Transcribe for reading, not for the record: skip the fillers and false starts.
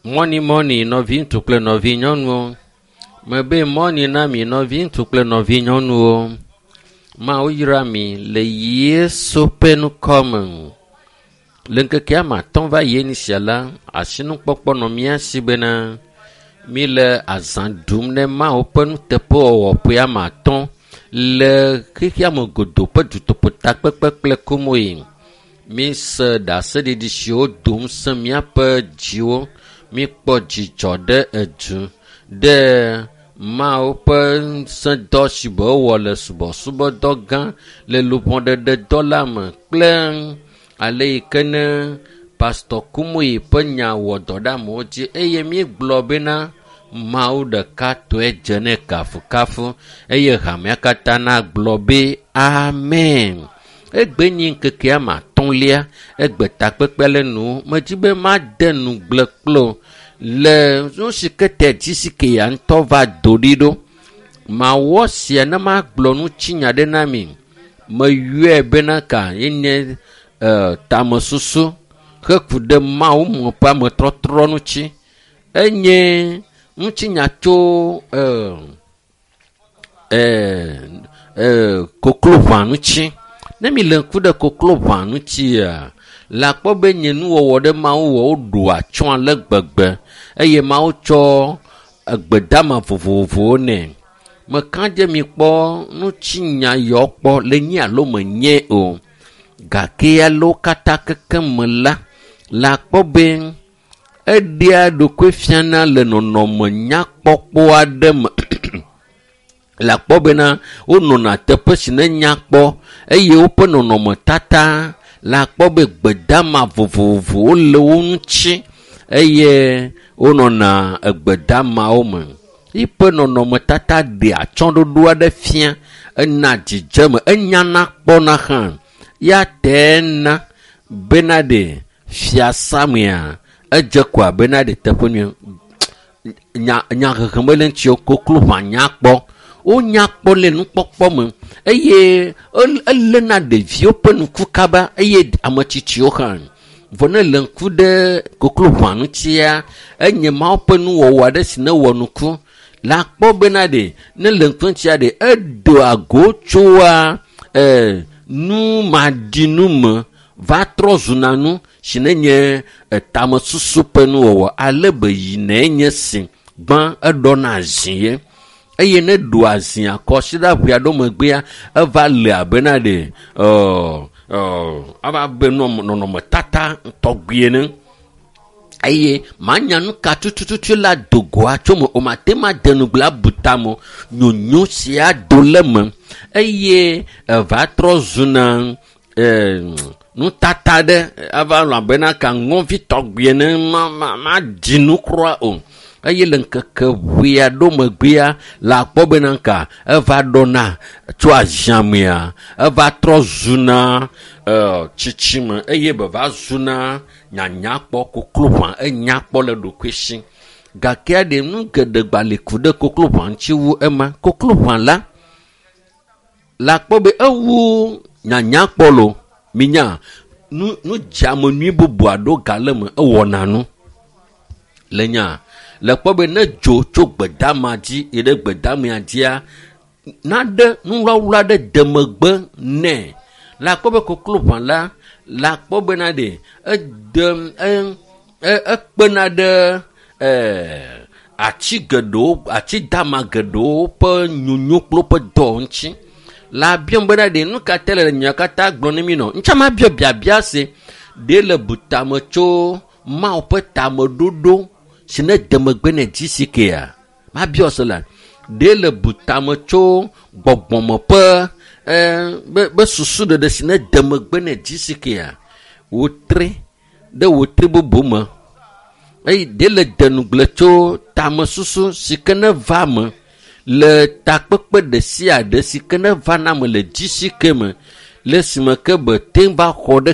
Mɔni mɔni nɔviŋutsu kple nɔvinyɔnuwo. Mebe mɔni na mi nɔviŋutsu kple nɔvinyɔnuwo. Mawu yra mi le Yesu ƒe ŋkɔ me. Le ŋkeke ame atɔ̃ va yi eni sia la, asinukpɔkpɔ nɔ mía si bena míle azã ɖum ne Mawu ƒe nuteƒewɔwɔ ƒe ame atɔ̃ le xexea me godoo ƒe dutoƒotakpekpe kple komoe. Míese ɖaseɖiɖi siwo do ŋusẽ míaƒe dziwo. Míkpɔ dzidzɔ ɖe edu ɖe Mawu ƒe ŋusẽdɔ si be wowɔ le subɔsubɔdɔ gã le luʋɔɖeɖedɔ la me kple ale yi ke ne Pastor Kumuyi ƒe nya wɔ dɔ ɖe amewo dzi eye míegblɔ bena Mawu ɖeka tɔe dze nɛ kafukafu eye hamea katã nagblɔ be amen. Egbe nyi ŋkeke ame atɔ̃lia, egbe takpekpe le nu. Medzi be made nugble kplo le nu si ke te dzisi ke ya ŋutɔ va do ɖi ɖo. Mawɔ sia ne magblɔ ŋutinya ɖe na mi. Meyɔe bena ka yenye tamesusu heku ɖe Mawu me ƒe ametrɔtrɔ ŋuti. Enye ŋutinya tso kokloʋã ŋuti. Ne mi le ŋku ɖe kokloʋã ŋutia, le akpɔ be nye nuwɔwɔ ɖe Mawu wɔ woɖo atsyɔ̃ ale gbegbe eye Mawu tsɔ egbedama vovovowo nɛ. Meka dze mi kpɔ ŋutinya yawo kpɔ le nyi alo menye o. Gake alewo katã keke me la, le akpɔ be eɖea ɖokui fiana le nɔnɔme nyakpɔkpɔ aɖe me. Le akpɔ bena wonɔna teƒe si ne nyakpɔ eye woƒe nɔnɔmetata le akpɔ be gbedama vovovowo le wo ŋuti eye wonɔna egbedamawo me. Yiƒe nɔnɔmetata ɖea atsyɔ̃ɖoɖo aɖe fia, ena dzidzeme, enyana kpɔna hã. Ya tɛ na bena ɖe fiasamea edze ko abena ɖe teƒe nyuie. Nya nyahehe mele ŋuti o, kokloʋã nyakpɔ. Wonyakpɔ le nukpɔkpɔ me eye eléna ɖeviwo ƒe ŋku kaba eye ame tsitsiwo hã. Vɔ ne le ŋku ɖe kokloʋã ŋutia, enye Mawu ƒe nuwɔwɔ aɖe si ne wɔ nuku. Le akpɔ bena ɖe ne le ŋku ŋutia ɖe edoa go tsoa numaɖinu me va trɔ zuna nu si ne nye tamesusu ƒe nuwɔwɔ ale be yinɛ nye si gbã eɖɔna zi ye. Eye ne ɖo azia kɔsiɖa ʋe aɖewo megbea eva le abena ɖe ava be nɔnɔmetata tɔgbi ene. Eye manya nu ka tutututu la do goa tso me o, mate ma de nugble abu tame o. Nyonyo sia do le me eye eva trɔ zuna nutata ɖe ava nɔ abena ka ŋɔvi tɔgbi ene ma ɖi nu kura o. Eye le ŋkeke ʋe aɖewo megbea le akpɔ bena ka eva ɖɔna tso aziamea eva trɔ zuna tsitsime eye be va zuna nyanyakpɔ kokloʋã enyakpɔ le ɖokui si. Gake aɖe nu geɖe gba le ku ɖe kokloʋã ŋuti wu ema. Kokloʋã la le akpɔ be ewu nyanyakpɔ lo. Minya nu dzeame nyui bubu aɖewo gale me ewɔna nu. Le nya le kpɔ be ne dzo tso gbedama dzi yi ɖe gbedamea dzia, naɖe nuwlawla ɖe de megbe nɛ. Le akpɔ be kokloʋã la, le akpɔ bena ɖe ede, ekpena ɖe ati geɖewo, ati dama geɖewo ƒe nyonyo kple woƒe dɔ ŋuti. Le abiam bena ɖe nu ka te le nya katã gblɔ ne mi nɔ. Ŋutsa ma biɔ biabia se ɖe le butame tso Mawu ƒe tameɖoɖo si ne de megbe ne dzi si kea. Ma biɔ se la ɖe le butame tso gbɔgbɔme ƒe be susu ɖeɖe si ne de megbe ne dzi si kea. Wotre ɖe wotre bubu me. Eye ɖe le denugble tso tamesusu si ke ne va me le takpekpe ɖe sia ɖe si ke ne va na me le dzi si ke me le esime ke be te va xɔ ɖe